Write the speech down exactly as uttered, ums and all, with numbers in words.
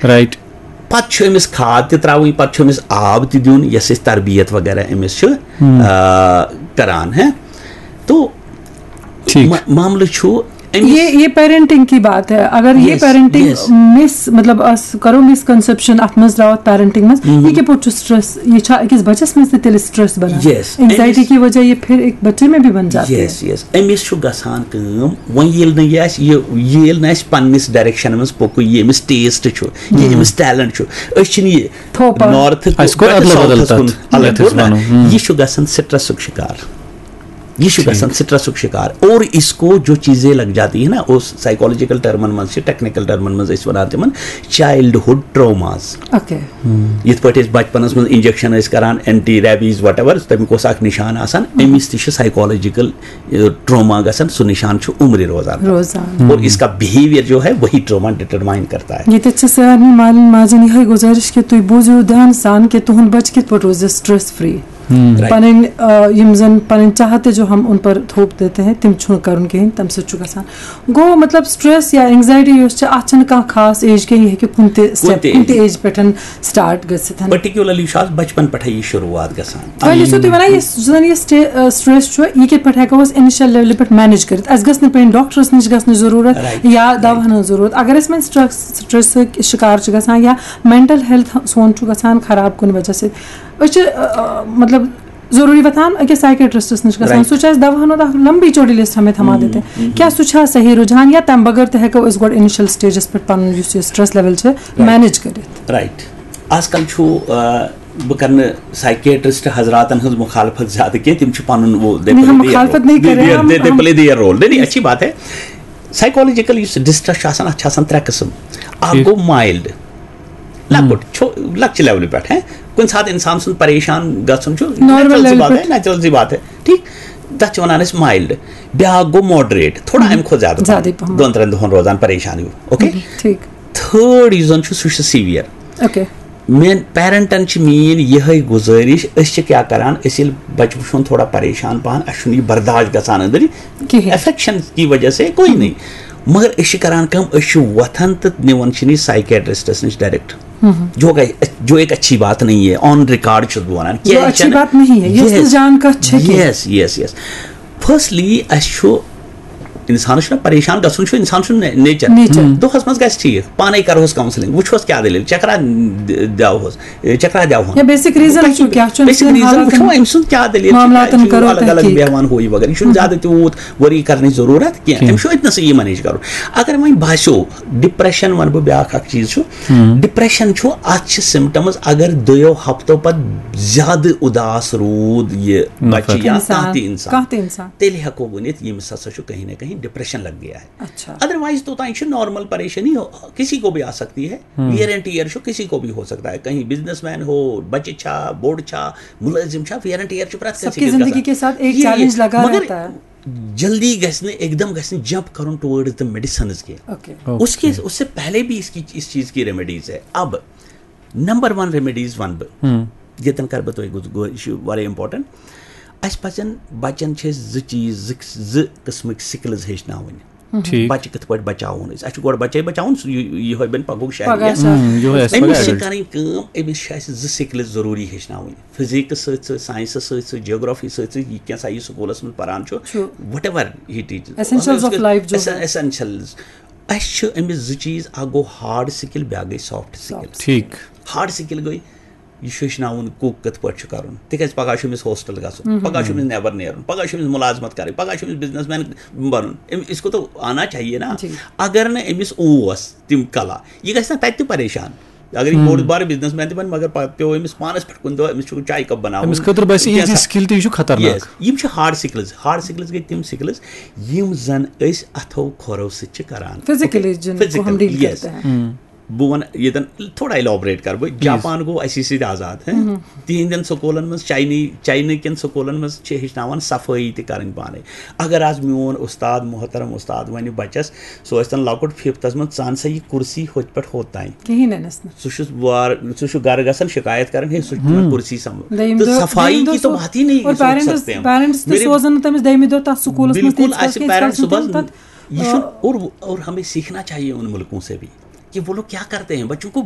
Right. پتہٕ چھُ أمِس کھاد تہِ ترٛاوٕنۍ، پتہٕ چھُ أمِس آب تہِ دیُن، یۄس أسۍ تربیت وغیرہ أمِس چھِ آ، کران ہے۔ تو ٹھیٖک۔ ما- معاملہٕ چھُ أمِس یہ یہ پیرنٹنگ کی بات ہے۔ اگر یہ Yes, پیرنٹنگ yes. مس مطلب اس کرو مس کنسپشن اتھ منٛز ترٛاوو پیرنٹنگ منٛز، یہ کِتھ پٲٹھۍ چھُ سٹریس؟ یہ چھا أکِس بچس منٛز تہِ تیٚلہِ سٹریس بنان؟ Yes. اینگزائٹی أمِس- کی وجہ یہ پھر ایک بچے میں بھی بن جاتی ہے۔ یس یس أمِس چھُ گژھان کٲم، وۄنۍ ییٚلہِ نہٕ یہِ آسہِ، یہِ یہِ ییٚلہِ نہٕ اَسہِ پننِس ڈایریکشن منٛز پوٚکُے، یہِ أمِس ٹیسٹ چھُ، یہِ أمِس ٹیلنٹ چھُ، أسۍ چھِنہٕ یہِ تھوپان۔ نارتھ اَسہِ کوٚر ادلہٕ بدل تَتھ۔ الگ یَتھ أسۍ کوٚر نا، وَنو۔ ہُم۔ یہِ چھُ گژھان سٹریسُک شکار۔ یہ چھُ گژھان سٹریسُک شکار۔ اور اس کو جو چیزیں لگ جاتی ہیں نا، اس سائیکولوجیکل ٹرمن منٛز چھِ، ٹیکنیکل ٹرمن منٛز أسۍ وَنان تِمن چائلڈہُڈ ٹروماز۔ اوکے۔ یِتھ پٲٹھۍ أسۍ بچپنس منٛز انجیکشن ٲسۍ کران، اینٹی ریبیز وٹ ایور، تمیُک اوس اکھ نشان آسان۔ أمِس تہِ چھُ سائیکولوجیکل ٹروما گژھان، سُہ نشان چھُ عمرِ روزان۔ روزان۔ اور اس کا بہیویئر جو ہے وہی ٹروما ڈٹرمائن کرتا ہے۔ ییٚتٮ۪تھ چھِ سارنٕے مالٮ۪ن ماجٮ۪ن یِہوٚے گُزٲرِش کہِ تُہۍ بوٗزِو دھیان سان کہِ تُہُنٛد بچہِ کِتھ پٲٹھۍ روزِ سٹریس فری۔ Right. پنٕنۍ آ، یِم زن پنٕنۍ چاہتے جو ہم ان پر تھوپ دیتے ہیں، تِم چھُنہٕ کرُن کِہیٖنۍ، تمہِ سۭتۍ چھُ گژھان۔ گوٚو مطلب سٹریس یا اینگزائٹی یۄس چھِ، اتھ چھنہٕ کانٛہہ خاص ایج کینٛہہ، یہِ ہیٚکہِ کُنہِ تہِ کُنہِ سٹیپ تہِ کُنہِ تہِ ایج۔ ایج پٮ۪ٹھ سٹارٹ گٔژھِتھ۔ پرٹیکولرلی چھُ آز بچپن پٮ۪ٹھے یہِ شروٗعات گژھان۔ وۄنۍ ٲسِو تُہۍ ونان یُس زن یہِ سٹے- آ، سٹریس چھُ، یہِ کِتھ پٲٹھۍ ہٮ۪کو أسۍ انیشل لیولہِ پٮ۪ٹھ مینیج کٔرِتھ؟ اسہِ گژھِ نہٕ پیٚنۍ ڈاکٹرس نِش گژھنٕچ ضروٗرت Right. یا دواہن ہٕنٛز ضروٗرت۔ اگر أسۍ وۄنۍ سٹریس سٹریسٕکۍ شکار چھِ گژھان یا مینٹل ہیلتھ سون چھُ گژھان خراب کُنہِ وجہ سۭتۍ، أسۍ چھِ آ، آ، مطلب ضروٗری وۄتھان أکِس سائیکیٹرسٹس نِش گژھان۔ Right. سُہ چھُ اَسہِ دواہن ہُنٛد اکھ لمبی چوڑی لسٹ ہمیں تھاوان دِتھ۔ کیٛاہ سُہ چھا صحیح رجحان یا تمہِ بغٲر تہِ ہٮ۪کو أسۍ گۄڈٕ انیشل سٹیجس پٮ۪ٹھ پنُن یُس یہِ سٹریس لیول چھِ مینیج کٔرِتھ؟ رائٹ۔ آز کل چھُ آ، بہٕ کرٕ نہٕ سائیکیٹرسٹ حضراتن ہٕنٛز مخالفت زیادٕ کینٛہہ، تِم چھِ پنُن وہ نہیں، ہم مخالفت نہیں کر رہے، ہم- ہم- پلے دیئر رول۔ نہیں نہیں، اچھی بات ہے۔ سائیکولوجیکل یُس ڈسٹریس چھُ آسان، اتھ چھِ آسان ترٛےٚ قٕسم۔ اکھ ٹھیٖک۔ گوٚو مایلڈ، لۄکُٹ چھُ، لۄکچہِ لیولہِ پٮ۪ٹھ ہے۔ کُنہِ ساتہٕ انسان سُنٛد پریشان گژھُن چھُ نارمل نیچرل سی لیولہِ بات ہے، پٮ۪ٹھ۔ نیچرل سی بات ہے، ٹھیٖک۔ تتھ چھِ ونان أسۍ مایلڈ۔ بیٛاکھ گوٚو ماڈریٹ، تھوڑا امہِ کھۄتہٕ زیادٕ پہم۔ زیادٕے پہم۔ دۄن ترٛٮ۪ن دۄہن روزان پریشان ہیوٗ۔ اوکے۔ ٹھیٖک۔ تھٲرڈ یُس زن چھُ، سُہ چھُ سیویئر۔ اوکے۔ میٲنۍ پیرنٹن چھِ میٲنۍ یِہے گُزٲرِش، أسۍ چھِ کیٛاہ کران، أسۍ ییٚلہِ بچہٕ وٕچھون تھوڑا پریشان پہن، اسہِ چھُنہٕ یہِ برداشت گژھان أنٛدٕرۍ، کِہیٖنۍ۔ افیکشن کی وجہ سے کوئی نہیں، مگر أسۍ چھِ کران کٲم، أسۍ چھِ وۄتھان تہٕ نِوان چھِن یہِ سائیکیٹرسٹس نِش ڈائریکٹ۔ جو کہ جو ایک اچھی بات نہیں ہے، آن ریکارڈ چھُس بہٕ ونان۔ جو اچھی بات نہیں ہے، یۄس نہٕ جان کتھ چھےٚ کینٛہہ۔ یس یس یس۔ فرسٹلی اسہِ چھُ انسانس چھُنہ پریشان گژھُن، چھُ انسان سُنٛد نے- نیچر۔ نیچر۔ دۄہس منٛز گژھِ ٹھیٖک، پانے کرہوس کاونسلنگ، وٕچھوس کیٛاہ دٔلیٖل، چکرا د- دِوہوس، اے، چکرا دِوہون۔ یا بیسک ریزن چھُ کیٛاہ چھُ أمۍ بیسک سٕنٛدٮ۪ن ریزن حالاتن، وٕچھو أمۍ سُنٛد کیٛاہ دٔلیٖل چھِ، معاملاتن کیٛازِ چھُ کرو الگ الگ تحقیٖق۔ بیٚہوان ہُہ یہِ وغیرہ، یہِ چھُنہٕ زیادٕ تیوٗت ؤری کرنٕچ ضروٗرت کینٛہہ، أمِس چھُ أتنَسٕے یہِ منیج کرُن۔ اگر وۄنۍ باسیو ڈپریشن، وَنہٕ بہٕ بیٛاکھ اکھ چیٖز چھُ، ڈپریشن چھُ، اتھ چھِ سمٹمز، اگر دۄیو ہفتو پتہٕ زیادٕ اداس روٗد یہِ بچہِ یا انسان، کانٛہہ تہِ انسان، کانٛہہ تہِ انسان۔ تیٚلہِ ہٮ۪کو ؤنِتھ ییٚمِس ہسا چھُ کہیں نہ کہیں ڈپریشن لگ گیا ہے۔ اچھا۔ ادروائز توٚتام چھُ نارمل پریشانی، ہو- کسی کو بھی آ سکتی ہے۔ ویئر اینڈ ٹیئر چھُ، کسی کو بھی ہو سکتا ہے، کہیں بزنس مین ہو، بچہِ چھا، بوٚڑ چھا، مُلٲزِم چھا، ویئر اینڈ ٹیئر چھُ پرٛٮ۪تھ سب کٲنٛسہِ کی أکِس زندگی گژھان۔ کے ساتھ ایک یہ- چیلنج لگا مگر رہتا ہے۔ جلدی گژھِ نہٕ، ایک دم گژھِ نہٕ جمپ کرُن ٹُورڈز دی میڈیسنز کینٛہہ۔ اوکے۔ اس کے اس سے پہلے بھی اس کی اس چیز کی ریمیڈیز ہے۔ اب نمبر ون ریمیڈیز ونہٕ بہٕ، ییٚتٮ۪ن کرٕ بہٕ تۄہہِ گُز-، گُ-، یہِ چھُ واریاہ امپورٹنٹ۔ اسہِ پزن بچن چھِ أسۍ زٕ چیٖز، زٕ زٕ قٕسمٕکۍ سکلز ہیٚچھناوٕنۍ۔ ٹھیٖک۔ بچہِ کِتھ پٲٹھۍ بچاوون أسۍ؟ اسہِ چھُ گۄڈٕ بچے بچاوُن، سُہ یہِ-، یِہوٚے بنہِ پگہُک شہری۔ پگاہ یا شہری۔ یِہوٚے آسہِ أمِس پگاہ چھِ شہری۔ کرٕنۍ کٲم، أمِس چھِ اسہِ زٕ سکلز ضروٗری ہیٚچھناوٕنۍ، فزکس سۭتۍ سۭتۍ، ساینسس سۭتۍ سۭتۍ، جیوگرافی سۭتۍ سۭتۍ، یہِ کینٛہہ سا یہِ سکولس منٛز پران چھُ، چھُ۔ What ever he teaches. Essentials of life جو ہے۔ ایسینشلز۔ اسہِ چھِ أمِس زٕ چیٖز، اکھ گوٚو ہارڈ سکل، بیٛاکھ گٔے سافٹ سکل۔ ٹھیٖک۔ ہارڈ سکل گٔے، یہِ چھُ ہیٚچھناوُن کُک کِتھ پٲٹھۍ چھُ کرُن، تِکیازِ پگاہ چھُ أمِس ہاسٹل گژھُن، پگاہ چھُ أمِس نٮ۪بر نیرُن، پگاہ چھُ أمِس مُلازمت کرٕنۍ، پگاہ چھُ أمِس بزنس مین بنُن۔ أمِس، اس کو تو آنا چاہیے نا۔ جی۔ اگر نہٕ أمِس اوس تِم کلا، یہِ گژھِ نا تتہِ تہِ پریشان۔ اگر یہِ بوٚڑ بار بزنس مین تہِ بنہِ، مگر پتہٕ پیوٚو أمِس پانس پٮ۪ٹھ کُنہِ دۄہ، أمِس چھُ چایہِ کپ بناوُن۔ أمِس خٲطرٕ باسہِ کینٛہہ ایٖزی سا- سکل تہِ، یہِ چھُ خطرناک۔ Yes، یِم چھِ ہارڈ سکلز۔ ہارڈ سکلز گٔے تِم سکلز یِم زن أسۍ اتھو کھۄرو سۭتۍ چھِ کران۔ فزیکلی جن کو ہم ڈیل Yes۔ کرتے ہیں۔ بہٕ وَنہٕ ییٚتٮ۪ن تھوڑا الیبوریٹ کرٕ بہٕ، جاپان گوٚو اَسی سۭتۍ آزاد، ہے؟ تِہنٛدٮ۪ن سکوٗلن منٛز، چاینی چاینہٕ کٮ۪ن سکوٗلن منٛز چھِ ہیٚچھناوان صفٲیی تہِ کرٕنۍ پانے۔ اگر آز میون اُستاد محترم اُستاد وَنہِ بَچَس، سُہ ٲسۍتن لۄکُٹ ففتھس منٛز، "ژٕ اَن سا یہِ کُرسی ہوٚتہِ پٮ۪ٹھ ہوٚت تام۔" کِہیٖنۍ نہٕ نَس نہٕ۔ سُہ چھُ وار-، سُہ چھُ گرٕ گژھان شِکایت کران، "ہے، سُہ چھُ مےٚ کُرسی سمبٲل۔" دوٚیِم تہٕ دۄہ، صفائی دوٚیِم کی دۄہ تو سُہ-، بات ہی نہیں اور سوچ پیرنٹس، سکتے ہم۔ پیرنٹس تہِ میرے سوزن نہٕ تٔمِس دوٚیمہِ دۄہ تَتھ سکوٗلَس منٛز بالکل تیٖتِس کالَس آسہِ کینٛہہ، ییٖتِس پیرنٹ کالَس نہٕ تِم صُبحس تَتھ، یہِ آ، چھُنہٕ، اور اور ہمیں سیکھنا چاہیے ان ملکوں سے بھی کہ وہ لوگ کیا کرتے ہیں، بچوں کو